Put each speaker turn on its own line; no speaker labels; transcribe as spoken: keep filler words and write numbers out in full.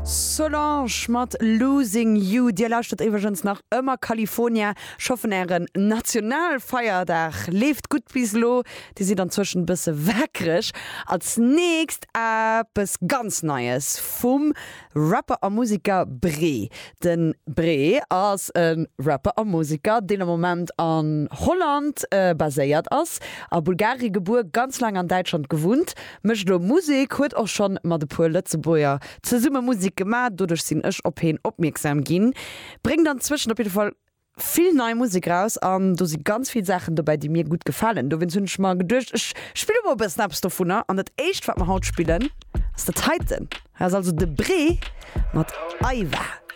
Solange mat Losing You. Dir lauschtert iwwregens nach ëmmer Kalifornia. Ech hoffen ären Nationalfeierdag leeft gutt bis elo. Dir sidd anzwëschen e bësse wakereg. Als nächst eppes ganz Neies vum Rapper a Museker Bree. De Bree ass e Rapper a Museker, deen am Moment an Holland baséiert ass. A Bulgarie gebuer, ganz laang an Däitschland gewunnt. Mécht elo Musek, huet och schonn mat e puer Lëtzebuerger zesumme Musek gemaach, doduerch sinn ech op heen opmierksam ginn. Bréngt anzwëschen op jidde Fall vill nei Musek raus an do si ganz vill Saachen dobäi, déi mir gutt gefalen. Dowéinst hunn ech mer geduecht, ech spille mol e bëssen eppes dovunner an dat éischt wat mer haut spillen ass dat heiten. Hei ass also de Bree mat Ayva.